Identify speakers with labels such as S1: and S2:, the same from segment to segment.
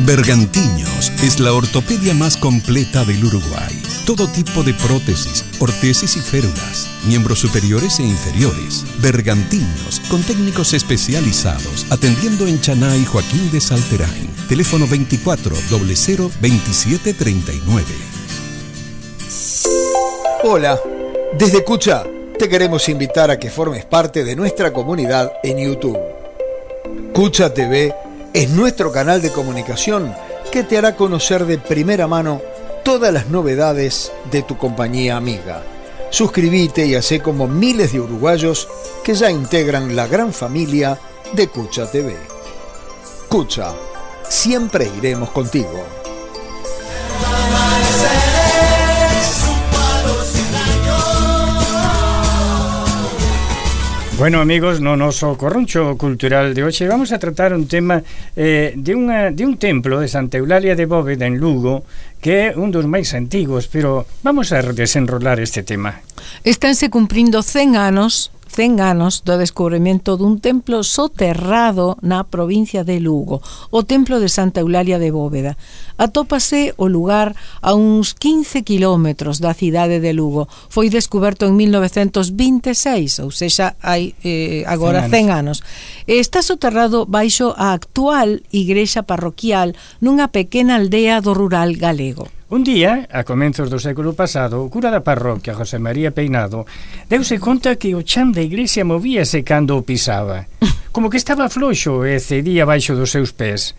S1: Bergantiños es la ortopedia más completa del Uruguay. Todo tipo de prótesis, ortesis y férulas, miembros superiores e inferiores. Bergantiños, con técnicos especializados, atendiendo en Chaná y Joaquín de Salterain. Teléfono 24 00 27 39.
S2: Hola, desde Cucha te queremos invitar a que formes parte de nuestra comunidad en YouTube. Cucha TV es nuestro canal de comunicación que te hará conocer de primera mano todas las novedades de tu compañía amiga. Suscríbete y hacé como miles de uruguayos que ya integran la gran familia de Cucha TV. Cucha, siempre iremos contigo.
S3: Bueno, amigos, no noso corroncho cultural de hoxe vamos a tratar un tema de un templo de Santa Eulalia de Bóveda en Lugo, que é un dos máis antigos, pero vamos a desenrolar este tema.
S4: Estánse cumprindo 100 anos do descubrimento dun templo soterrado na provincia de Lugo, o templo de Santa Eulalia de Bóveda. Atópase o lugar a uns 15 kilómetros da cidade de Lugo. Foi descoberto en 1926, ou seja, hai agora 100 anos. Está soterrado baixo a actual igrexa parroquial nunha pequena aldea do rural galego.
S3: Un día, a comenzos do século pasado, o cura da parroquia, José María Peinado, deuse conta que o chan da igrexa movíase cando o pisaba, como que estaba floxo e cedía baixo dos seus pés.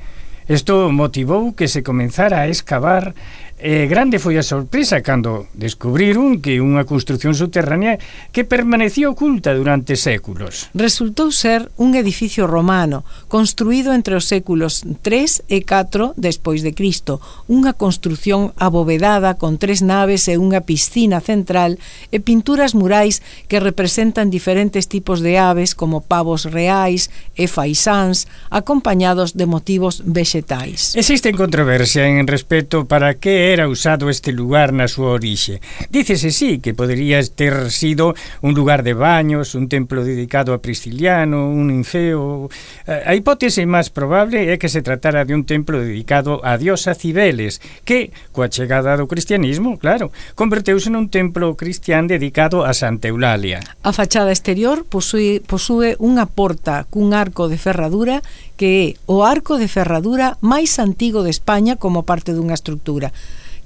S3: Isto motivou que se comenzara a escavar. Grande foi a sorpresa cando descubriron que unha construción subterránea que permanecía oculta durante séculos.
S4: Resultou ser un edificio romano construído entre os séculos 3 e 4 despois de Cristo, unha construción abovedada con 3 naves e unha piscina central e pinturas murais que representan diferentes tipos de aves como pavos reais e faisáns acompañados de motivos vegetais.
S3: Existe controversia en respecto para que era usado este lugar na súa orixe. Dícese sí que podería ter sido un lugar de baños, un templo dedicado a Prisciliano, un ninfeo. A hipótese máis probable é que se tratara de un templo dedicado a diosa Cibeles, que, coa chegada do cristianismo, claro, converteuse nun templo cristián dedicado a Santa Eulalia.
S4: A fachada exterior posúe unha porta cun arco de ferradura que é o arco de ferradura máis antigo de España como parte dunha estrutura.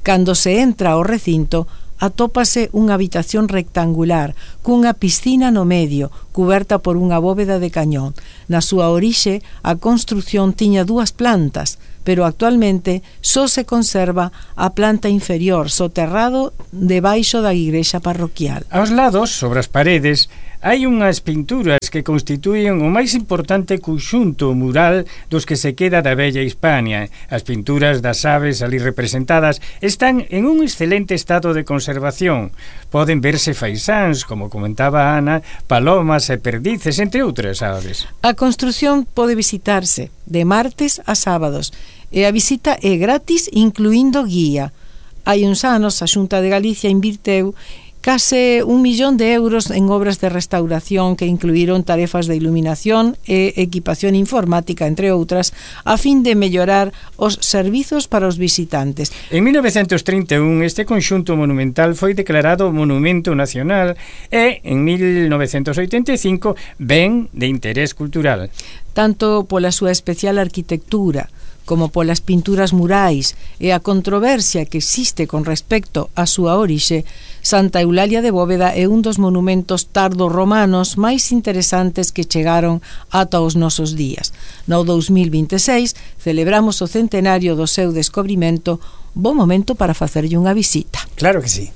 S4: Cando se entra ao recinto, atópase unha habitación rectangular cunha piscina no medio, cuberta por unha bóveda de cañón. Na súa orixe, a construción tiña 2 plantas, pero actualmente só se conserva a planta inferior, soterrado debaixo da igrexa parroquial.
S3: Aos lados, sobre as paredes, hai unhas pinturas que constituían o máis importante conxunto mural dos que se queda da bella Hispania. As pinturas das aves ali representadas están en un excelente estado de conservación. Poden verse faisáns, como comentaba Ana, palomas e perdices, entre outras aves.
S4: A construción pode visitarse de martes a sábados e a visita é gratis, incluindo guía. Hai uns anos a Xunta de Galicia invirteu case 1 millón de euros en obras de restauración que incluíron tarefas de iluminación e equipación informática, entre outras, a fin de mellorar os servizos para os visitantes.
S3: En 1931 este conxunto monumental foi declarado Monumento Nacional e en 1985 Ben de Interés Cultural.
S4: Tanto pola súa especial arquitectura como polas pinturas murais e a controversia que existe con respecto á súa orixe, Santa Eulalia de Bóveda é un dos monumentos tardo-romanos máis interesantes que chegaron ata os nosos días. No 2026 celebramos o centenario do seu descobrimento. Bo momento para facerlle unha visita.
S3: Claro que sí.